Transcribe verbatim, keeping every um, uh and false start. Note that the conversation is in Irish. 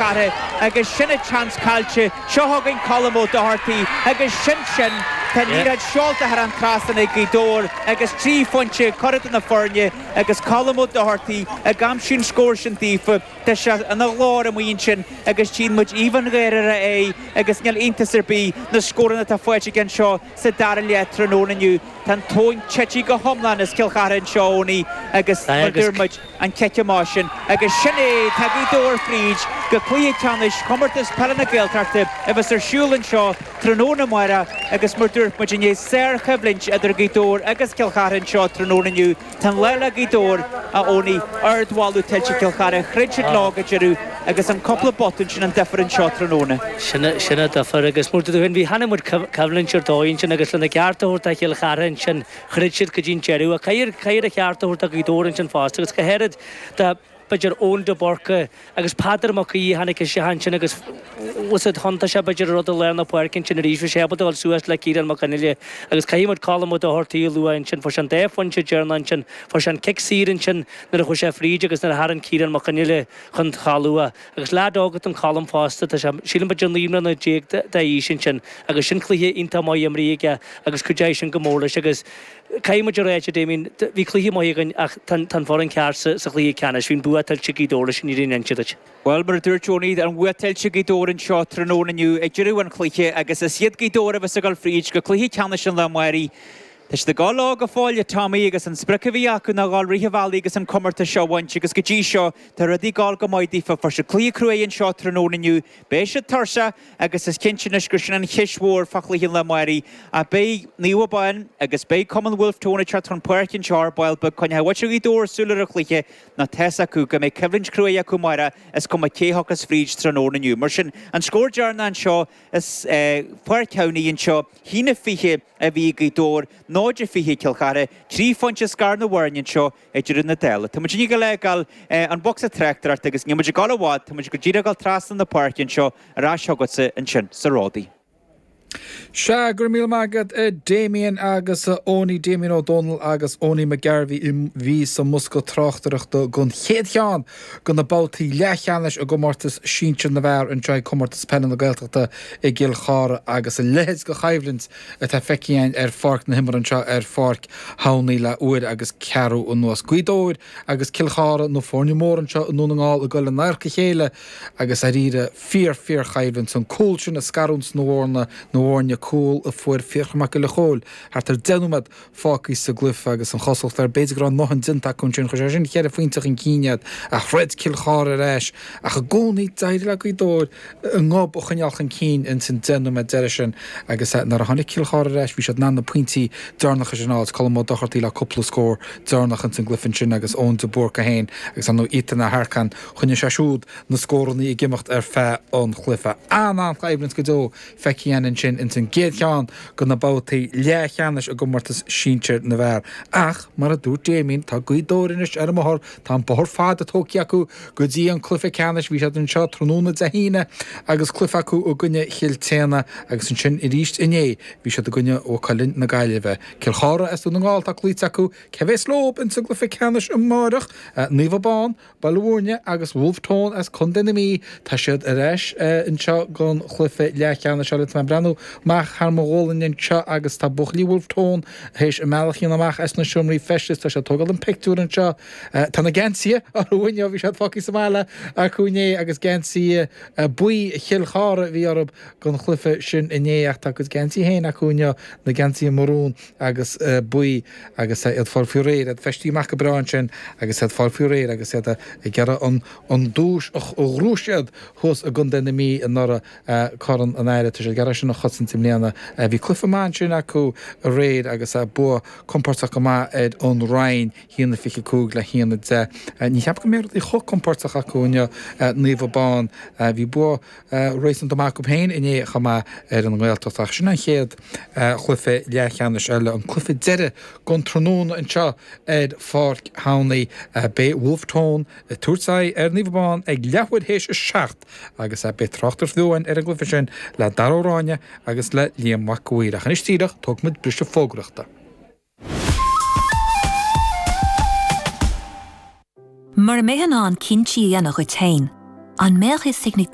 Chartha agus sin an seans caillte seo chugainn Colm Ó Dochartaigh agus sin sin tá an liathróid seolta thar an trasnán ag Gaoth Dobhair agus trí phointe curtha de na foirne agus Colm Ó Dochartaigh ag aimsiú an scór sin daofa Tá sé ina ghlór amuigh ansin agus tchíonn muid aoibh an gháire ar a aghaidh agus níl iontas ar bith na scóranna atá faighte aige anseo sa dara leath tráthnóna inniu. Tá an tóin tite go hiomlán as Cill Chartha anseo a Eoiní agus mar dúirt muid an cic amach sin agus sin é, tá Gaoth Dobhair fríd go cluiche ceannais Chomórtas Peile na Gaeltachta a bheas ar siúl anseo tráthnóna amárach agus mar dúirt muid i ndiaidh sárchoimhlint idir Gaoth Dobhair agus Cill Chartha anseo tráthnóna inniu. Tá an lá le Gaoth Dobhair, a Eoiní, ardmholadh tuillte ag Cill Chartha, throid siad leo go deireadh agus an cúpla botún sin an difear anseo tráthnóna. Sin an difear agus mar dúirt tú féin, bhí chonaic muid coimhlint ar dóigh ansin agus lena gceart a thabhairt do Chill Chartha ansin, throid siad go dtí an deireadh. Ach caithfear a cheart a thabhairt do Ghaoth Dobhair ansin fosta agus go háirid do b'fhéidir Eoin de Búrca agus Peadar Mac Aoidh a tháinig isteach ansin agus was it thiontaigh sé b'fhéidir an rud i lár na páirce ansin arís bhí sé ábalta dul suas le Ciarán Mac Fhionnghaile agus caithfidh muid Colm Ó Dochartaigh a lua ansin fuair sé an dá phointe deireanach ansin fuair sé an cic saor ansin nuair a chuaigh sé fríd agus nuair a tharraing Ciarán Mac Fhionnghaile chun talún agus leaid óg atá in Colm fosta tá sé sílim b'fhéidir naoi mbliana déag d'aois ansin agus sin cluiche iontach maith imrithe aige agus cuideoidh sin go mór leis agus Caithfidh muid a ráit, a Damien, bhí cluiche maith againn ach tá an foireann ceart sa chluiche ceannais. Bhí an bua tuillte ag Gaoth Dobhair leis an fhírinne a inse duit. Bhuel, mar a dúirt Tony, an bua tuillte ag Gaoth Dobhair anseo tráthnóna inniu ag deireadh an chluiche agus is iad Gaoth Dobhair a bheas ag dul fríd go cluiche ceannais an lae amáirigh. Tá siad ag dul leo go fóill, a Tommy, agus an sprioc a bhí acu ná dhul rith an bhealaigh agus an comórtas seo a bhaint agus go dtí seo tá rudaí ag dul go maith daofa. Fuair siad cluiche cruaidh anseo tráthnóna inniu. Beidh siad tuirseach agus is cinnte anois gur sin an cheist mhór fá chluiche an lae amáirigh. Ach beidh Naomh Abán agus beidh Cumann Bhulf Tón ag teacht chun páirce anseo ar ball beag. Coinneoidh muintir Ghaoth Dobhair súil ar an chluiche nó tá's acu go mbeidh coimhlint chruaidh acu amárach is cuma cé thiocfas fríd tráthnóna inniu. Mar sin, an scór deireanach anseo as Páirc Shamhnaigh anseo, haon a fiche a bhí ag Gaoth Dobhair, náid a fiche ag Cill Chartha, trí phointe scar na bhfoirne anseo ag deireadh na dála. Tá muid ag fágáil an bocsa tráchtaireachta agus níl muid ag dul i bhfad, tá muid go díreach ag dul trasna na páirce anseo ar ais chugatsa ansin sa Ródaí. Sea, go raibh míle maith agat a Damien agus a Eoiní, Damien Ó Dónaill agus Eoiní McGarvey a bhí sa mbosca tráchtaireachta don chéad cheann de na babhtaí leathcheannais i gcomórtas sinsir na bhfear anseo ag Comórtas Peile na Gaeltachta i gCill Chartha agus a leithéid de choimhlint atá feicthe againn ar pháirc na himeartha anseo ar Pháirc Shamhnaí le uair agus ceathrú anuas. Gaoth Dobhair agus Cill Chartha, na foirne móra anseo i nDún na nGall ag dul in adharca a chéile agus dáiríre fíor fíor choimhlint. An cúl sin a scarúint na bhfoirne, na bhfoirne, cúl a fuair Fiachra Mac Giolla Chóill thart ar deich nóiméad fágtha sa gcluiche agus an chosúlacht air b'fhéidir go raibh a ndóthain déanta acu ansin. Chuir sé sin cheithre phointe chun cinn iad ach throid Cill Chartha ar ais ach i gcónaí d'éirigh le Gaoth Dobhair a ngob a choinneáil chun cinn ins an deich nóiméad deiridh sin agus nuair a tháinig Cill Chartha ar ais bhí siad in ann na pointí deireanacha sin a fháil, Colm Ó Dochartaigh le cúpla scór deireanach ins an gcluiche ansin agus Eoin de Búrca féin agus ar ndóigh Ethan Aharcan, choinnigh sé siúd na scórannaí ag imeacht ar feadh an chluiche. An-an-choimhlint go deo feicthe againn ansin ins an gcéad cheann de na babhtaí leathcheannais i gcomórtas sinsir na bhfear. Ach, mar a dúirt Damien, tá Gaoth Dobhair anois ar an mbóthar, tá an bóthar fada tógtha acu go dtí an cluiche ceannais. Bhí siad anseo tráthnóna Dé hAoine agus cluiche acu i gcoinne Chill tSéadhna agus ansin arís inné bhí siad i gcoinne Mhaigh Cuilinn na Gaillimhe. Cill Chartha as Dún na nGall atá cloíte acu. Cé bhéas leob ins an gcluiche ceannais amáireach? Naomh Abán, Baile Mhúirne agus Bhulf Tón as Contae na Mí, tá siad ar ais anseo don chluiche leathcheannais eile. Tá mé ag breathnú amach thar mo ghualainn anseo agus tá buachaillí Bhulf Tón théis a mbealach a dhéanamh amach as na seomraí feistis. Tá siad ag tógáil an pictiúr anseo. Tá na geansaithe orthu inniu, bhí siad fágtha sa bhaile acu inné agus geansaithe buí Chill Chartha a bhí orthu don chluiche sin inné ach tá a gcuid geansaithe féin acu inniu, na geansaithe marún agus buí agus iad fáil faoi réir, iad feistithe amach go breá ansin agus iad fáil faoi réir agus iad ag iarraidh an an duais a ghnóthaigh siad thuas i gContae na Mí anuraidh, Corn an Aire. Tá siad ag iarraidh sin a chosaint i mbliana. Bhí cluiche maith ansin acu aréir agus bua compóirteach go maith ar an Rinn, a haon a fiche cúig le haon a deich. Ní cheapaim go mbeidh rudaí chomh compóirteach acu inniu, Naomh Abán. Bhí bua réasúnta maith acu féin inné chomh maith ar an nGaeltacht ach sin an chéad chluiche leathcheannais eile, an cluiche deiridh den tráthnóna anseo ar Pháirc Shamhnaí. Beidh Wolfe Tone ag tabhairt aghaidh ar Naomh Abán ag leathuair théis a seacht agus beidh tráchtaireacht bheo againn ar an gcluiche sin le Dara Ó Ráinne agus le Liam Mac a' Mhaoir. Ach anois díreach, tógfaidh muid briseadh fógraíochta. Mura mbeifeá in ann cinntí a dhéanamh dhuit féin, an mbeadh fhios ag na